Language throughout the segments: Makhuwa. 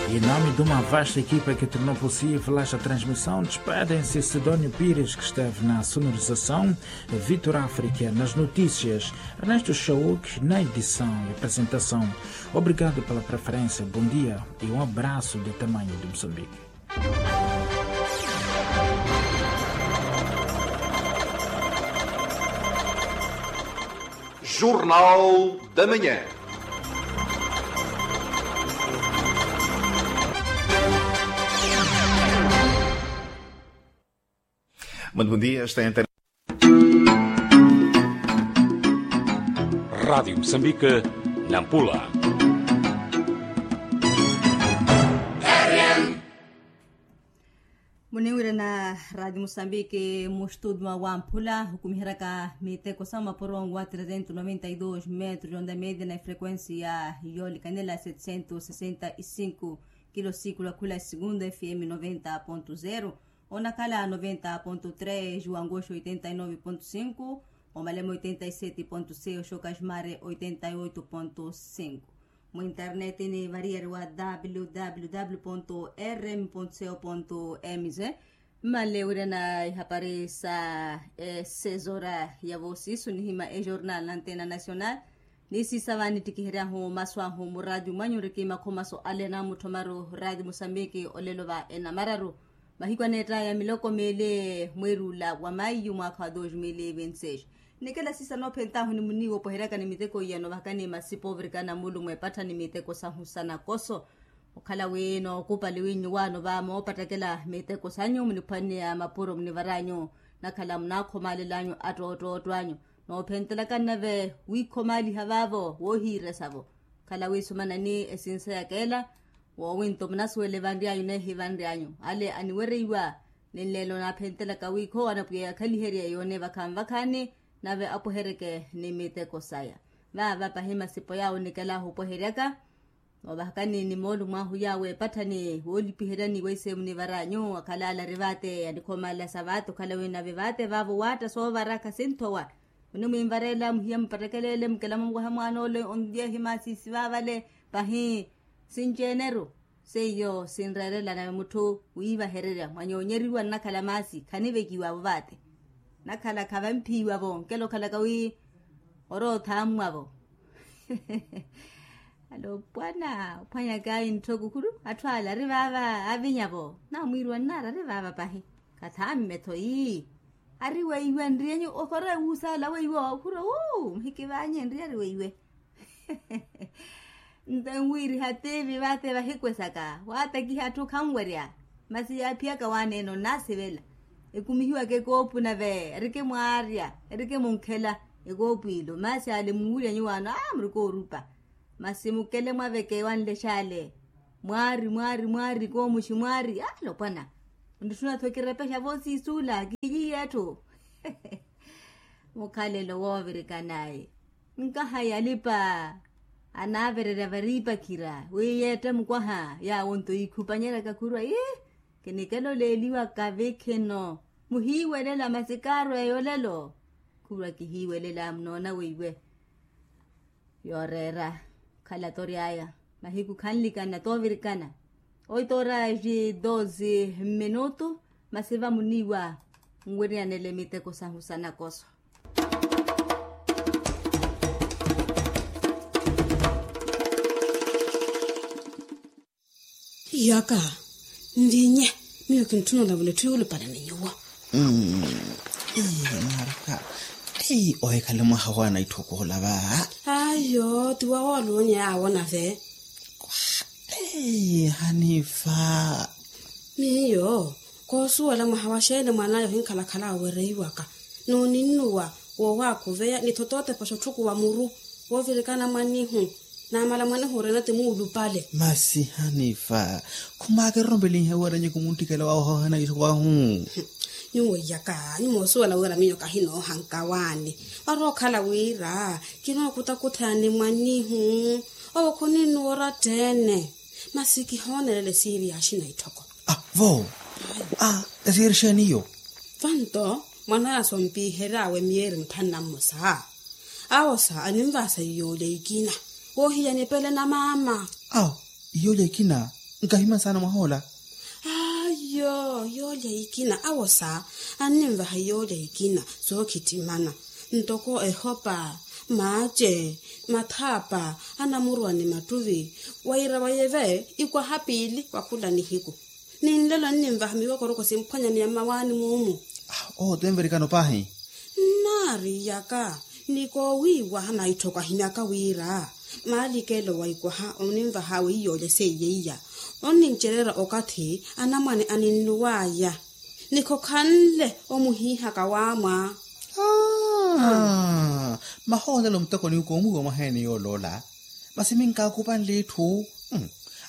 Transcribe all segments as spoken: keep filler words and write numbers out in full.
Em nome de uma vasta equipa que tornou possível esta transmissão, despedem-se Sidónio Pires, que esteve na sonorização, Vitor África nas notícias, Ernesto Chauk na edição e apresentação. Obrigado pela preferência, bom dia e um abraço do tamanho de Moçambique. Jornal da Manhã. Muito bom dia, está em Rádio Moçambique, Nampula. Muniwirana Rádio Moçambique, mu estúdio mwa Wamphula, hukumiheryaka miteko sa mapuro wa trezentos noventa e dois metros de onda média na frequência yoolikanela setecentos sessenta e cinco kilo, siku la khula Segundo F M noventa ponto zero, Onakhala noventa ponto três, Wangoxo oitenta e nove ponto cinco, Omalemo oitenta e sete ponto seis, Xocas Mares oitenta e oito ponto cinco. Mu internet ni variyari wa W W W ponto R M ponto C O ponto M Z. Mmanle wirana ihapari sa esezora ya voosiisu nihima ejornal na antena nacional. Ni siisa vaani ttikiheryahu masu ahu muraati mwanyu riki makhomaso ale naamuthomaru raati musambiki olelo va enamararu. Mahiku aneettaya miloko meeli mweeri ula wa maiyu mwaakha wa dos mil e vinte seis. Nikela siisa noophentahu ni muniiwa opoheryaka ni miteko iya novahakani masipa ovirikana mulu mweepattha ni miteko sahu sa nakoso. Okhala wi nookupali wi nyuwaano va moopattakela miteko sanyu muniphwanneya mapuro munivaranyu. Nakhala munaakhomalelanyu attoottootto anyu. Noophentelaka nnave wiikhomaaliha vaavo woohiiresavo. Khala wiisumana ni esinsa yakeela woowinto munasuwele vanryanyu neehivanryanyu ale aniwereiwa. Ni nleelo naaphentelaka wiikhowa na pwiya yakhaliherye yoone vakhanvakhani nave apohereke ni miteko saya. Vaava pahi masipo yaawo nikelahu opoheryaka. Noovahakani ni moolumo ahu yaawo eepatthani woolipiheryani weiseemu nivaranyu akhala alari vaate anikhomalela sa vaate okhala wi nave vaate vaavo waatta soovaraka sinthowa. Munimwinvareela muhiya mupattekeleele mukela mumwaha mwaana ole onlyeehi maasisi vaavale. Pahi sinci-eneru seiyo sinreerela nave mutthu wiivahererya mwanyoonyeriwa nnakhala maasi khanivekiwavo vaate. Nnakhala khavampiiwavo nkela okhalaka wi orootha ammwavo. Alopwana ophwanyaka intthoko khuru atthu ale ari vaava avinyavo namwiiriwa nnaari ari vaava pahi. Kathaammetho ii ari weiwe nriyenyu okhora wuusaala weiwe okhura wuu muhikivaanye nriyari weiwe. Nto enwiiriha tiivi vaate vahikwesaka waatakiha atthu khanwerya. Masi yaaphiyaka waaneene onnaasivela ekumihiwaka ekoopu nave erikimwaarya erikimwunkhela ekoopu ilo masi ale muwuryanyu waano aa murikoorupa. Masi mukele mwaveke wanlexa ale mwaari mwaari mwaari koomuxi mwaari alopwana. Ntthuna-tho kirepexa voosiisuula kiyiiye etthu. Mukhalelo woovirikanaye nkaha yalipa anaavererya variipakhira wi yeetta mukwaha yaawo nto yiikhupanyeryaka khurwa ii. Kinikela oleeliwaka vikhino muhiiwelela masi kaarweya olelo. Khurwa kihiiwelela munoona weiwe. Yooreera khala tory'aya mahiku khanlikana toovirikana. Oito horas e doze minutu. Masi vamuniiwa nwiriyanele miteko sahu sa nakoso. Iyaka nvinye miyo kintthuna olavula etthu yuulupale ni nyuwo. Maraka. Ei ohikhale mwaha wa naitthoko olava. Ayo ti wa wooluunya yaawo nave. Ei hanifa. Miyo koosuwela mwaha wa xeeni mwan'aya ohinkhalakhala awereiwaka n'uninnuwa woowakhuveya ni thotootepa xotthukhuwa muru woovirikana mwannihu. Naamala mwanehu orina ti muulupale. Masi hanifa khumaakerompelihe wira nyuku munttikela waahohana iso wahu. Nyuwo iyaka nyuwo osuwela wira miyo kahinoohanka waani. Orookhala wira kinookutakutha ni mwannihu owo khuninnuwa oratteene. Masi kihoonelela esiiri ya axina itthoko. Vo esiiri xeeni iyo? Vanto mwan'aya sompiihery'awe miyeeri mitthanu na mmosa. Awo sa aninvaasa iyoolya ikina woohiya nipele na maama. Awo iyoolya ikina. Nkahimya saana mwahoola. Ayo, yoolya ikina awosa anninvaha yoolya ikina sookhittimana, ntoko ehopa, maace, mathaapa, anamurwa ni mattuvi, wira wayeve ikwaha piili wa khula nihiku. Ni nlelo anninvaha miwokoroko simphwanyaneya mmawaani muumu. Oho tenverikano paahi. Nnaariyaka ni koowiiwaha na itthu okahimyaka wira maalikelo wa ikwaha oninvaha wiiyoolya seiye iya. Onnincereera okathi anamwane aninnuwaya ni khokhanle omuhiihaka waamwa. Mahoolelo muteko ni koomuhiwa mwaheeni yooloola. Masi minkaakupanle itthu.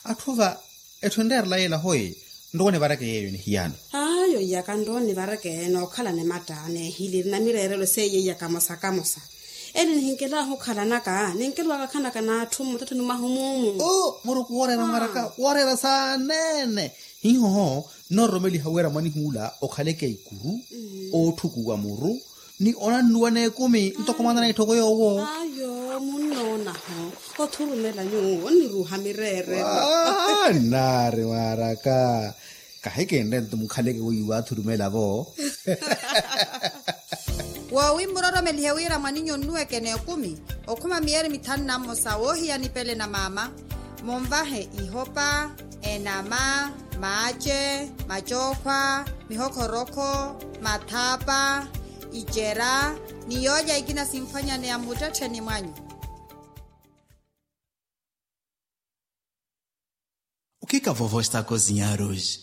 Atthu va etthu enreerela yeela hoyi. Nrowa onivareke yeeyo nihiyano. Ayo iyaka nrowa onivareke nookhalana ematta neehiliri na mireerelo seiye iyaka mosa kamosa. Ene nihinkelaahu okhalanaka ninkelowaka khanaka n'atthu mmutathoni mwahu muumu. Muruku wooreera mwaraka wooreera saaneene. Hiihoho nnoororomeliha wira mwanihuula okhaleke ikuru, ootthukuwa muru ni onannuwa n'ekumi ntoko mwaana na itthoko yoowo. Ayo munnoonaho othurumela nyuwo onniruuha mireerelo. Nnaari mwaraka kahikinre nto mukhaleke weiwa athurumela-vo. Woowi mmuroromelihe wira mwaninyu onnuweke n'ekumi okhuma miyeri mithanu na mmosa woohiya nipele na maama. Munvahe ihopa, enama, maace, macookhwa, mihokhorókho, mathaapa, icera ni yoolya ikina simphwanyaneya mmuttettheni mwanyu. O que que a vovó está a cozinhar hoje?